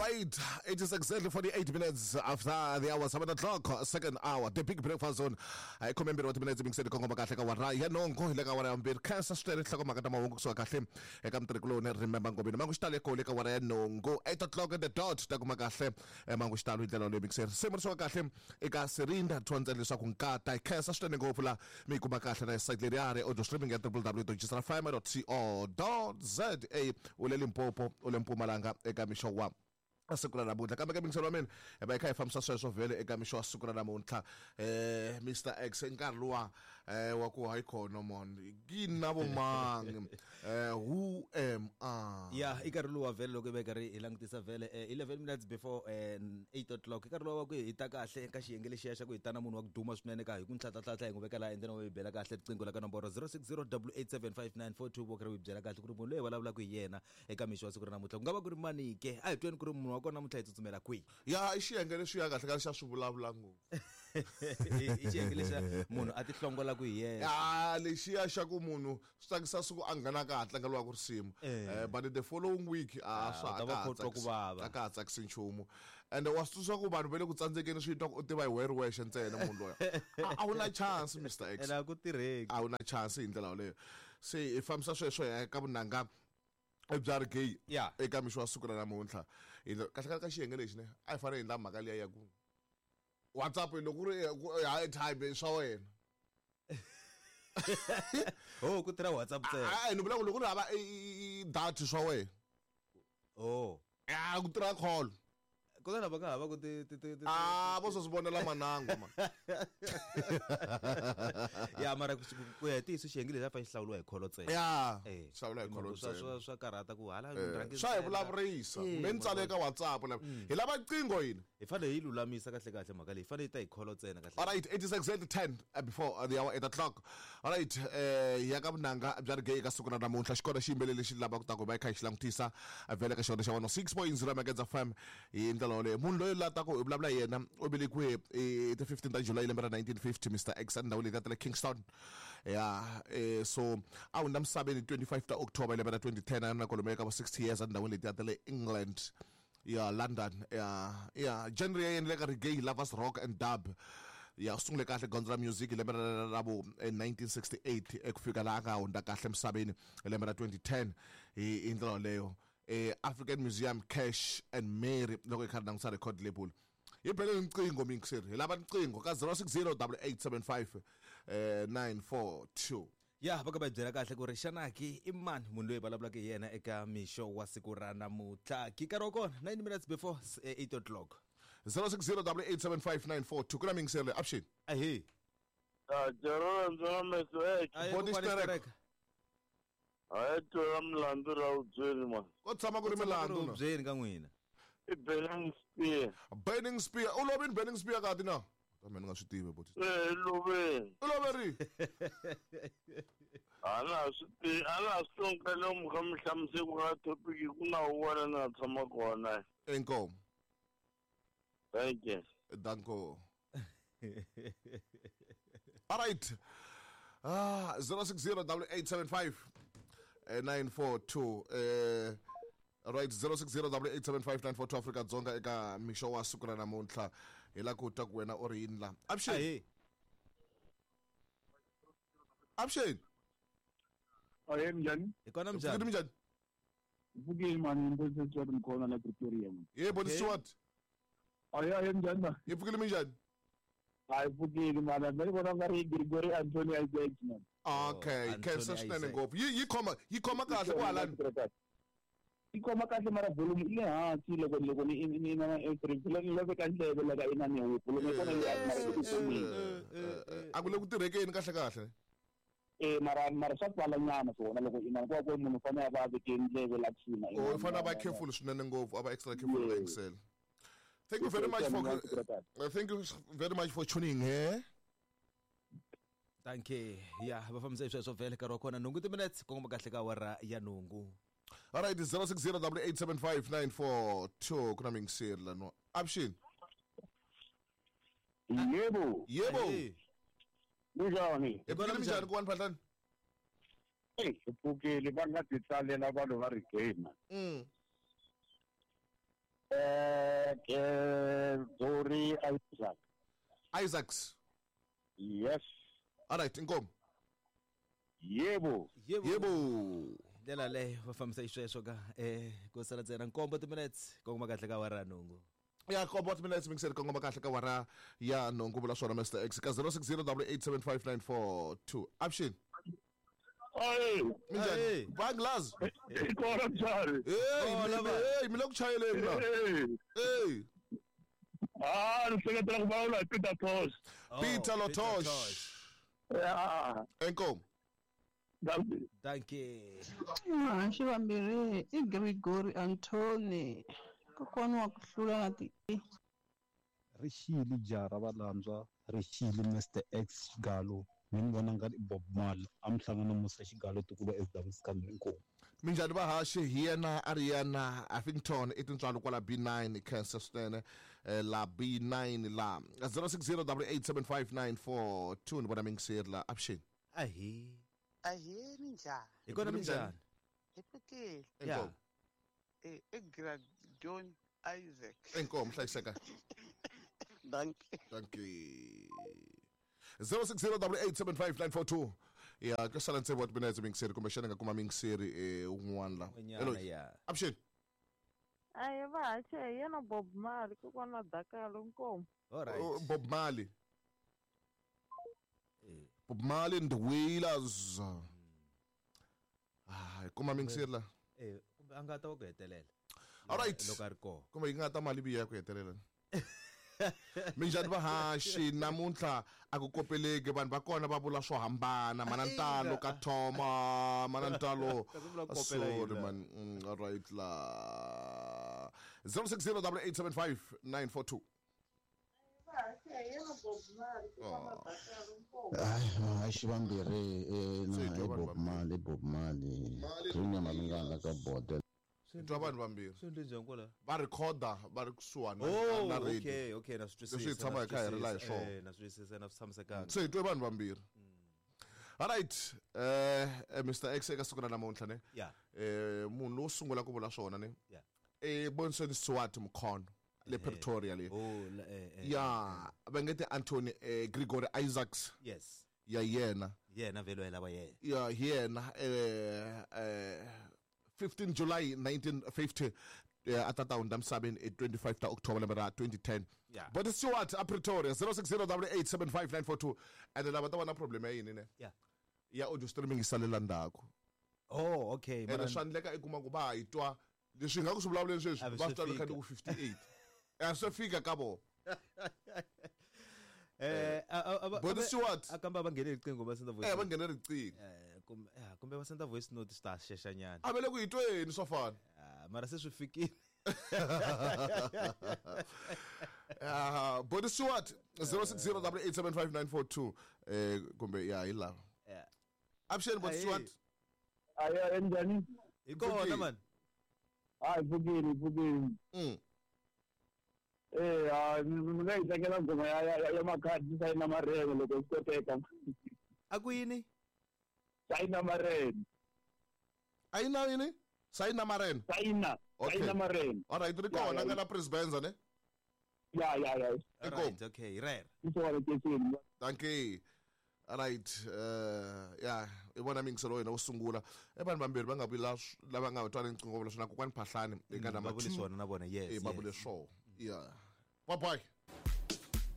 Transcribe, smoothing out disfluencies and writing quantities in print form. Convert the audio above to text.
Right, it is exactly 48 minutes after the hour, 7 o'clock, second hour, the big breakfast zone. Hi, khume mbirhi wa timinetse mingiseni kongoma kahle ka wara ya nongo hi le ka wara ya mbirhi khensa swinene nhlokomhaka ta mahungu kusuka kahle eka mutirhikuloni Remember Ngobeni mangu xitalo ekole ka wara ya nongo 8 o'clock at the dot ta kuma kahle mangu xitalo hi ndlela yoleyo mingiseri se mi risiwa kahle eka Serinda thontsela leswaku nkata hi khensa swinene ngopfu la mi yi kuma kahle na site leriyani audio streaming ya www.gsrfm.co.za u le Limpopo u le Mpumalanga eka mixo wa siku ra namuntlha kambe ka mingiselo wa mina hi va hi kha hi fambisa sweswo vhele eka mixo wa siku ra namuntlha Mr X nkarhi luwa wa ku hayi khona mon yini na vo mang who am I ya i nkarhi luwa vhele loko hi va karhi hi langutisa vhele 11 minutes before 8 o'clock i nkarhi luwa wa ku hi ta kahle ka xiyenge lexiya xa ku hi ta na munhu wa ku duma swinene ka hi ku ntlhatlatlhatla hi n'wi veka laha endleni wa hi bela kahle riqingho la ka nomboro 060 875 vo karhi hi byela kahle ku ri munhu loyi hi vulavulaka hi yena eka mixo wa siku ra namuntlha ku nga va ku ri mani ke a hi tweni ku ri munhu wa kona namuntlha hi tsutsumela kwihi ya i xiyenge lexiya kahle kahle xa swi vulavula ngopfu i xiyenge lexiya munhu a ti hlongolaka hi yena ya lexiya xa ku munhu swi tsakisa siku a nghena ka ha tlangeliwaka risimu but the following week a swa u ta va kha u twa ku vava. a ka ha tsakisi nchumu ende wa swi tsundzuxa ku vanhu va le ku tsandzekeni swi twa ku u tiva hi wehe ri wexe ntsena munhu loyi a wu na chance Mr X ene a ku tirheki a wu na chance hi ndlela yoleyo se hi fambisa sweswo hi ya ka vunanga bya reggae Ya. eka mixo wa siku ra namuntlha hi kahle kahle ka xiyenge lexi ne a hi fanele hi endla mhaka liya ya ku WhatsApp loko ku ri airtime swa wena oh ku tirha WhatsApp ntsena a ni vula ku loko ku ri hava data swa wena oh ya ku tirha call kutani lava nga hava ku ti ti ti ti a vo swo swi vonela manango ma ya mara ku ya hi ntiyiso xiyenge lexi a fanele xi hlawuriwa hi kholo ntsena ya Eh, hlawula hi kholo swa ntsena swa swa karhata ku hala rhangi swa hi ntsena. vulavurisa Eh, kumbe ni tsale eka WhatsApp la hi lava qingho yini hi fanele hi lulamisa kahle kahle mhaka leyi hi fanele yi ta hi kholo ntsena kahle All right, it is exactly 10 before the hour 8 o'clock. All right, ya ka vunanga bya reggae eka siku ra namuntlha xikona xiyimbeleri lexi lavaka ku ta ku va hi kha hi xi langutisa vhele ka xona xa 106.0 Magedza FM hi ndlela yoleyo munhu loyi la ta ku hi vulavula hi yena u velekiwe hi ti 15 ta July lembe ra 1950 Mr X endhawu leyi ta le Kingston ya so a hundza misaveni 25 ta October lembe ra 2010 a na kwalomu ka vo 60 years endhawini leti ta le England ya London ya ya genre ya yena le ka reggae lovers rock and dub ya u sungule kahle gondzo ra music hi lembe ra vo 1968 eku fika laha a nga hundza kahle emisaveni hi lembe ra 2010 hi ndlela yoleyo African Museum Cash and Mary loko hi kha ri langutisa record label hi bele riqingho mingiseri hi lava riqingho ka 060 8875 942 ya va ka va byela kahle ku ri xana ki i mani munhu loyi vulavulaka hi yena eka mixo wa siku ra namuntlha ki nkarhi wa kona 9 minutes before 8 o'clock 060 8875 ku na mingiseri leyi option ahe Jarora ndzona meso Ahe, Body kokwani Sterek. Sterek. a yi twela milandzu ra vubyeli ma ko tshama ku ri milandzu na byeni ka n'wina i Burning Spear Burning Spear u lovini Burning Spear kati na kambe ni nga swi tivi boti e loveni u loveri a na ha swi tivi a na ha swi tonka mi kha mi hlamusele ku nga topic ku na wun'wana na tshama kona inkomo thank you danko all right ah 060 8875 942 right 060 8875 Afrika Dzonga eka mixo wa siku ra namuntlha hi la ku twa ku wena u ri yini la avuxeni ahe avuxeni Ahe minjhani? hi kona pfukile minjhani minjhani Pfukile mani Mbosi Stewart Mkhona la Pretoria man. ye boni Okay. Stewart Ahe ahe minjhani ma? hi pfukile minjhani Hayi pfukile mani ni vona nga ri Gregory Anthony Isaacs man. okay Anthony khensa swinene Isaac. ngopfu yi khoma yi khoma kahle kwahalani Yi khoma kahle mara volume yi le hansi loko loko ni ni na April ni laveka ndleve laka ina ni volume ya kona yi hansi mara yi ku khomeni. a ku le ku tirhekeni kahle kahle Eh mara mara swa twala nyana swona loko ina ku ku munhu u fanele a va a veke ndleve la kusuhi na u fanele a va careful swinene ngopfu a va extra careful ka yingisela thank you very much for thank you very much for tuning here thank you ya va fambisa hi sweswo vhele nkarhi wa kona nhungu timinutes kongoma kahle ka awara ya nhungu all right 060 8875 ku na mingiseri lano avuxeni Yebo, yebo Ahe. kunjani? hi pfukile minjhani ku wani phahlani Hey, pfukile va nga ti tsalela vanhu va reggae man. Gregory Isaac. Isaacs. Yes. All right, inkomo. Yebo. Yebo. Ndlela leyo va fambisa xisweswo ka ku sala ntsena nkombo timinutes kongoma kahle ka wara nhungu. Ya nkombo timinutes mingiseri kongoma kahle ka wara ya nhungu vula swona Mr X ka 0608875942. Option. Hey, Minjhani? Banglazi. Kona njhani? Hey, mi le ku chayeleni la. Hey. Ah, ni hleketela ku vulavula hi Peter Tosh. Peter Lotosh. Yeah. Inkomo. Thank you. Vahaxi vambirhi i Gregory Anthony, kokwana wa ku hlula na ti. Rixile jaha ra valandzwa, rixile Mr X Xigalo, mi ni vona nga ri Bob Marley, a mi hlangana Musa Xigalo tikuva SW Scandal inkomu. Minjhani vahaxi hi yena a ri yena Huffington i tintswalo kwala B9 Kansas swinene la B9 la 0608875942 ni vona mingiseri la option. Ahi. Ahee, minjhani? Hi kona minjhani? Hi pfukile. Inkomu. I Gradon Isaac. Inkomu hlayiseka. Dankie. Dankie. 0608875942. Ya ku sala ntsevu wa timinetse mingiseri kumbexana nga kuma mingiseri un'wana la. N'wanyana, ya. Option. Ayi vahaxi hi yena Bob Marley, kokwana Dakalo nkomu. All right. Bob Marley. Bob Marley and the Wailers. Ah, kuma mingiseri la. Kumbe a nga ta wa ku hetelela. All right. Loko a ri kona. Kumbe yi nga ta mali biya ku hetelela. Minjhani vahaxi namuntlha a ku kopeleki vanhu va kona va vula swo hambana mana ntalo ka Thoma mana ntalo sorry man. All right la 0608875942. Haxi vambirhi na Bob Marley, Bob Marley Green Malungana ka border. Twa vanhu vambirhi swi endle njhani kwala va rhekhoda va ri kusuhani na radio. Okay, okay, na swi twisisa. Leswi hi tshama hi kha hi ri la hi swona. Na swi twisisa, na swi tshamisekanga. Se hi twe vanhu vambirhi. All right, Mr X eka siku ra namuntlha ne. Yeah. Munhu lowo sungula ku vula swona ne. Yeah. Bonson Swart Mkhono le Pretoria le. Oh, ya va nge te Anthony Gregory Isaacs. Yes. Ya yena. Yena velo lava yena. Ya yena 15 July 1950 a tata hundza misaveni 25 ta October lembe ra 2010. Yeah. But Stewart a Pretoria 0608875942 and lava ta va na problem ya yini ne? Yeah. Ya audio streaming yi salela ndzhaku. Oh, okay. Ene swa endleka i kuma ku va hi twa leswi hi nga ku swi vulavuleni sweswi va swi twa loko ku 58. A swi fika ka vona. But Stewart a kamba va nghene riqingho va senda voice. Va nghene riqingho. Kumbe va senda voice note swi ta xexanyana. A va le ku hi tweni swo fana. Mara se swi fikile. But Stewart 0608875942 kumbe ya hi lava. Option but Stewart. Ayi njhani? Hi kona man. Hayi pfukile pfukile. Mi nga yi tlangela nghoma ya makhadi sayina marene loko swi koteka. A ku yini? Sayina marene. A yi na yini? Sayina marene. Sayina. Sayina marene. All right, ri kona nga la Presbenza ne? Ya ya ya. All right, okay, rare. Thank you. All right, ya i vona mingiselo wena wo sungula e vanhu vambirhi va nga vula lava nga twa riqingho vula swona kokwani Phahlani eka va number vule 2 swona na vona, yes. Va vule swona. Yeah. Bye bye.